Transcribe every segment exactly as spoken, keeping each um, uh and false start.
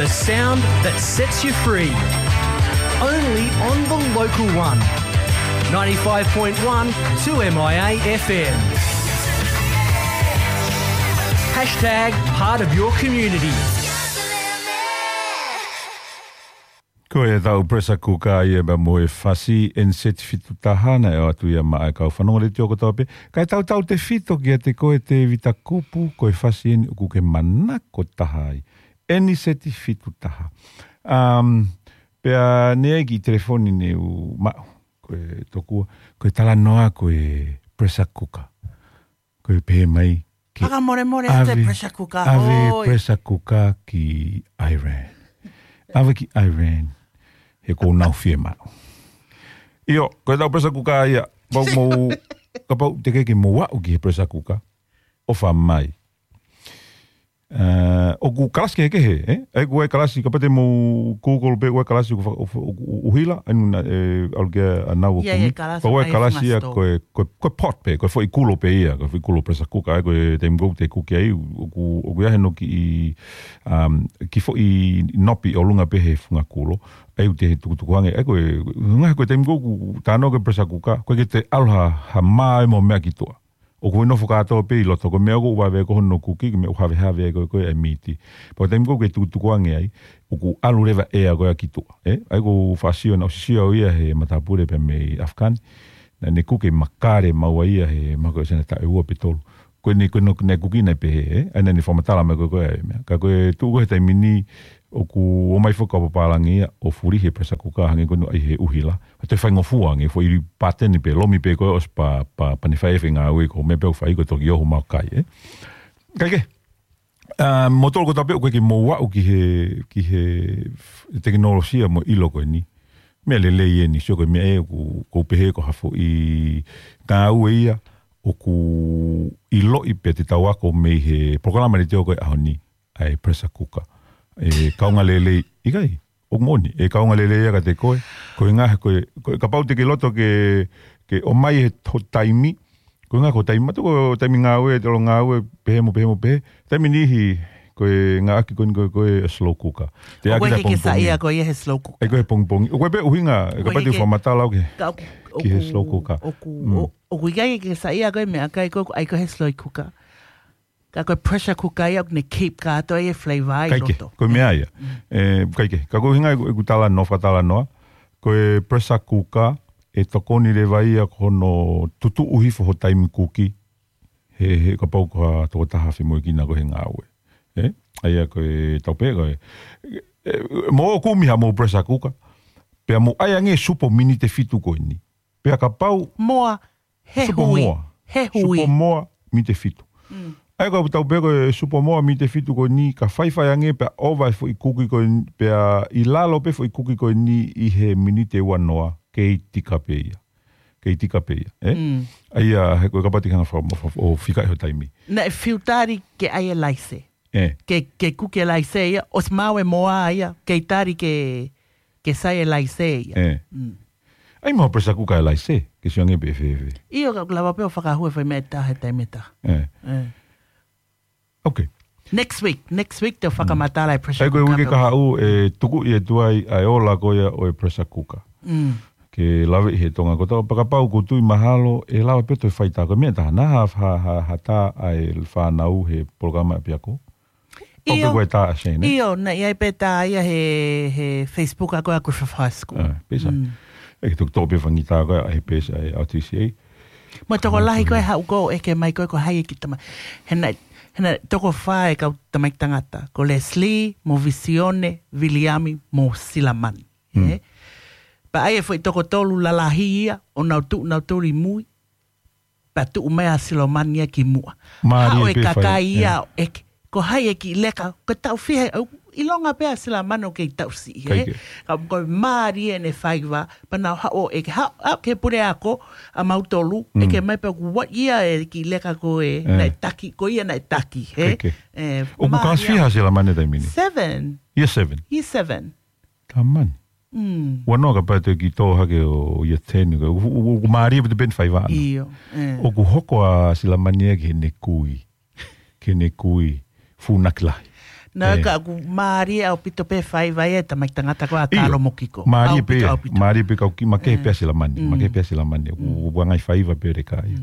The sound that sets you free. Only on the local one. Ninety-five point one two M I A F M. Hashtag part of your community. Ko e tau pressure cooker ia pea mo e fasi ʻeni seti fitu taha naʻe ʻoatu ia maʻa e kau fanongo letiō kotoa pē. Kae tautautefito kiate koe Tēvita Kupu, ko e fasi ʻeni ʻoku ke manako taha ai. ʻEni seti fitu taha. Um, pea ne ai ki telefoni ne u maʻu, ko e tokua, ko e talanoa ko e pressure cooker. Ko e pehē mai ke Fakamolemole ʻave, ʻave pressure cooker, ʻave hoi. Pressure cooker ki Iran. ʻAve ki Iran. He ko nau fie maʻu. ʻIo, ko e tau pressure cooker ia. Pau mou, kapau te ke ke mou aʻu ki he pressure cooker. ʻOfa mai. Uh, ʻoku kalasi kehekehe, eh? ʻAi ko e kalasi, kapau te mou Google pē ko e kalasi ʻoku fa-, ʻoku, ʻoku, ʻoku ʻuhila, ʻa inu na, eh, ʻalu ke a nau ʻoku Ia, ia, mi. Kalasi Pau e kalasi ia ko e, ko e, ko e pot pē, ko e foʻi kulo pē ia, ko e foʻi kulo pressure cooker, ʻa ia ko e taimi ʻoku te kuki ai, ʻoku, ʻoku ʻi ai hano kiʻi, um, kiʻi foʻi nopi ʻolunga pē he funga kulo, ʻa ia ʻoku te tukutuku ange, ʻa ia ko e, ngaahi ko e taimi ʻoku tāno ko e pressure cooker, ko e ke te ʻalu ha, ha mā e mo meʻa ki tuʻa. ʻOku ʻi nofo kātoa pē ʻi loto, ko e meʻa ʻoku vave ko hono kuki, ko e meʻa ʻoku havehave ai ko e, ko e miti. Pea taimi ʻoku ke tukutuku ange ai, ʻoku ʻalu leva ʻea ko ē ki tuʻa, eh? ʻA ia ʻoku ou faʻa sio naʻa ku sio au ia he matāpule pē mei Afkani. Naʻa ne kuki makale maua ia he mahalo ko e sena taʻu ʻe ua pe tolu. Ko eni ko eni naʻe kuki naʻe pehē, eh? ʻA ia naʻa ne fakamatala mai ko e ko e ʻa e meʻa. Ka ko e tuʻu ko ē he taimi ni, ʻoku ō mai foki kau pālangi ia ʻo fuli he pressure cooker hangē ko eni ʻai he ʻuhila. Pea toe faingofua ange, foʻi pāteni pē, lomi pē ko ē ʻosi pea, pea, pea ne fai e feinga ui ko e meʻa pē ʻoku fai ko e toki ʻoho mau kai, eh? Kae kehe, uh, mo tolo ko tāpē ʻoku ke mou aʻu ki he, ki he tekinolosia mo e ʻilo ko eni. Meʻa lelei ʻeni, sio ko e meʻa ē ʻoku, ʻoku pehē ko ha foʻi ngāue ia, ʻoku ʻiloʻi pē te tau ako mei he polokalama letiō ko e ʻaho ni. ʻA e pressure cooker. ʻE kaunga lelei, ʻikai, ʻoku moʻoni, ʻe kaunga lelei ia kiate koe, ko e ngaahi, ko e, ko e kapau te ke loto ke, ke ʻomai he ho taimi, ko e ngaahi ko e taimi, matu ko e taimi ngāue, te lo ngāue, pehē mo, pehē mo, pehē, taimi niʻihi, ko e ngaahi ko eni ko e, ko e slow cooker. Te ʻOku ʻaki ʻikai ke ke pongipongi. Saiʻia koe ia he slow cooker. ʻAi ko e pongipongi. ʻOku ʻi ai pē ʻuhinga, ʻOku kapau ʻikai te ke, u fakamatala au ke, ka, ki he ʻoku, slow cooker. ʻOku, Mm. ʻo-, ʻoku ʻikai ke ke saiʻia koe meʻakai ko e, ʻai ko e he slow cooker. Ka ko e pressure cooker ia, ʻoku ne keep kātoa e flavor ʻi Kae kehe, loto. ko e meʻa ia. Mm. Eh, kae kehe, ka ko e ʻuhinga ʻeku, ʻeku talanoa, fakatalanoa, ko e pressure cooker, ʻe tokoni leva ia ko hono tutuʻu hifo ho taimi kuki, he, he kapau ko ha tokotaha femoʻuekina ko e he ngāue. Eh? ʻA ia ko e tau pē, ko e, eh, mo kumi ha mo pressure cooker, pea mo ʻai ange supo miniti ʻe fitu ko eni. Pea kapau Moa, he Supo hui, moa. he hui. Supo moa, miniti ʻe fitu. Mm. ʻA ia ko e tau pē ko e supo moa, miniti ʻe fitu ko eni, ka faifai ange pea ʻova e foʻi kuki ko eni, pea ʻi lalo pē foʻi kuki ko eni ʻi he miniti ʻe ua noa, kei tika pē ia. Kei tika pē ia, eh? Mm. ʻA ia, he ko e kapau te ke hanga fa-, fa-, ʻo fika ʻi ho taimi. Naʻe fiu tali ke ʻai e laise. Eh. Ke, ke kuki e laise ia, ʻosi maʻu e moa ia, kei tali ke, ke sai e laise ia. Eh. Mm. ʻAi mo pressure cooker e laise, ke sio ange pē fēfē. ʻIo, ka ʻoku lava pē ʻo fakahū e foʻi meʻa ʻe taha he taimi ʻe taha. Eh. Eh. Okay. Next week, next week te u fakamatala e pressure cooker. ʻAi ko e uike kahaʻu, ʻe tuku ʻi e tuai, ʻa e ola ko ia ʻo e pressure cooker. Mm. Ke lave ʻi he Tonga kotoa, pea kapau ʻoku ou tui mahalo, ʻe lava pē toe fai tā ko e meʻa ʻe taha, naʻa ha, ha, ha, ha tā ʻa e fānau he polokalama ʻapiako. Pau pē ʻIo. ko e tā ʻa Shane, eh? ʻIo, naʻe ʻi ai pē tā ia he, he Facebook ʻa ko ē ʻa Griffith High School. Ah, pē sai. Mm. ʻE ke toki toʻo pē fanga tā ko ē ʻa e page ʻa e R T C A. Mo e tokolahi ko ē haʻu ko ē ʻeke mai ko ē ko hai e kiʻi tama-, he naʻe, he naʻe toko fā e kau tamaiki tangata. Ko Leslie, mo Visione, Viliami, mo Silamani. Mm. Eh? Pea ʻai e foʻi toko tolu lalahi ia, ʻo nau tuʻu, nau tuli mui. Pea tuʻu mai ʻa Silamani ia ki muʻa. Mālie Haʻu e pē fai, kakai ia, eh. ʻo ʻeke, ko hai e kiʻi leka, ko e taʻu fiha, ʻo ʻilonga pē ʻa Silamani ʻoku kei taʻu siʻi, eh. Kae kehe. Ka ko e mālie ʻene faiva, pea nau haʻu ʻo ʻeke, haʻu, haʻu ki he puleako, ʻa mautolu, Mm. ʻeke mai pē ʻoku what year e kiʻi leka ko ē, Eh. naʻe taki, ko ia naʻe taki, eh. Kae kehe. Eh, ʻOku mālie. kalasi fiha ʻa Silamani taimi ni? Seven. Year seven? Year seven. Tamani. Mm. Ua noa kapau te ke tō hake ʻo year ten, ʻoku, ʻoku, ʻoku mālie pē te peni faiva ʻana. ʻIo, eh. ʻOku hoko ʻa Silamani ia ki heʻene kui. Ki heʻene kui. Fūnaki lahi. Naʻe ka ʻoku mālie ʻaupito pē faiva ia ʻa e tamaiki tangata ko ē ʻa Kalo mo Kiko. Mālie pē, mālie pē kau ki, makehe pē ʻa Silamani, makehe pē ʻa Silamani. ʻOku, ʻoku ʻangai faiva pē ʻo e kakai.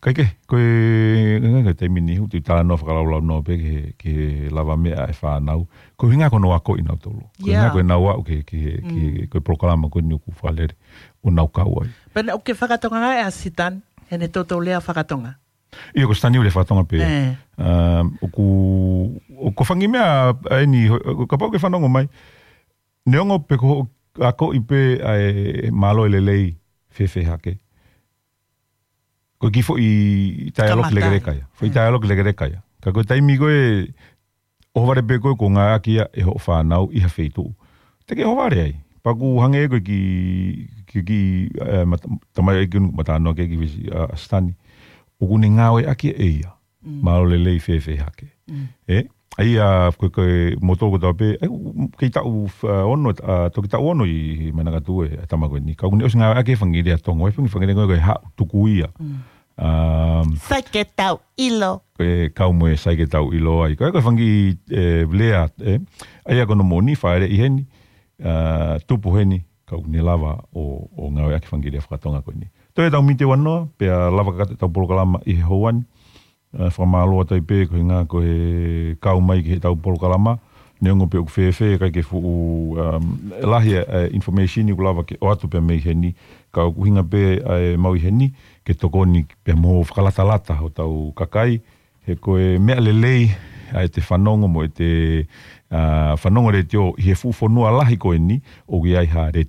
Kae kehe, ko e, ko e taimi ni, ʻoku ou talanoa fakalaulaunoa pē ki he, ki he lavameʻa ʻa e fānau. Ko e ʻuhinga ko hono akoʻi nautolu. Ko e ʻuhinga ko ʻenau aʻu ki he, ki he, ki he, ko e polokalama ko eni ʻoku fakalele ʻo nau kau ai. Pea naʻe ʻoku ke fakatonga ai ʻa Sitani, heʻene toutou lea fakatonga. ʻIo, ko Sitani ʻoku lea fakatonga pē. Um, ʻoku, ʻoku ko e fanga kiʻi meʻa, ʻa eni, ho-, kapau ʻoku ke fanongo mai. Neongo pē ko hoʻo akoʻi pē ʻa e mālō e lelei fēfē hake. Ko e kiʻi foʻi dialogue lekeleka ia. Foʻi dialogue lekeleka ia. Ka ko e taimi ko ē, ʻohovale pē ko ē ʻoku ngāueʻaki ia ʻe hoʻo fānau ʻi ha feituʻu. Te ke ʻohovale ai. Pea ʻoku hangē ko e kiʻi, kiʻi, kiʻi, eh, mat-, tamaioʻeiki ʻoku ma talanoa ki ai ki Visi, ʻa, ʻa Sitani. ʻOku ne ngāueʻaki ʻe ia. Mālō e lelei fēfē hake. ʻE, ʻa ia, ko e, ko e moto ko ē tau pē, ʻe, kei taʻu, uh, ono, uh, toki taʻu ono ʻi, ʻi Manakatu ʻa e tama ko eni. Ka ʻoku ne ʻosi ngāueʻaki e fanga kiʻi lea Tonga, ʻa e fanga kiʻi, fanga kiʻi lea ko ē ko e haʻu tuku ia. Um, Sai ke tau ʻilo. Ko e kau mo e sai ke tau ʻilo ai. Ko e, ko e fanga kiʻi, eh, lea, ʻe, ʻa ia ko hono moʻoni, fāʻeleʻi heni, uh, tupu heni, ka ʻoku ne lava ʻo, ʻo ngāueʻaki e fanga kiʻi lea fakatonga ko eni. Toe tau mite ua noa, pea lava kakato ʻetau polokalama ʻi he houa ni. Uh, fakamālō atu ai pē, ko e ʻuhinga ko e kau mai ki heʻetau polokalama, neongo pē ʻoku fēfē, ʻikai ke fuʻu, um, lahi ʻa e, ʻa e information ʻoku lava ke ʻoatu pē mei heni, ka ʻoku ʻuhinga pē ʻa e mau ʻi heni, ke tokoni pea mo fakalatalata hotau kakai, he ko e meʻa lelei ʻa ʻete fanongo mo ʻete, uh, fanongo letiō ʻi he fuʻu fonua lahi ko eni, ʻoku ʻi ai ha letiō.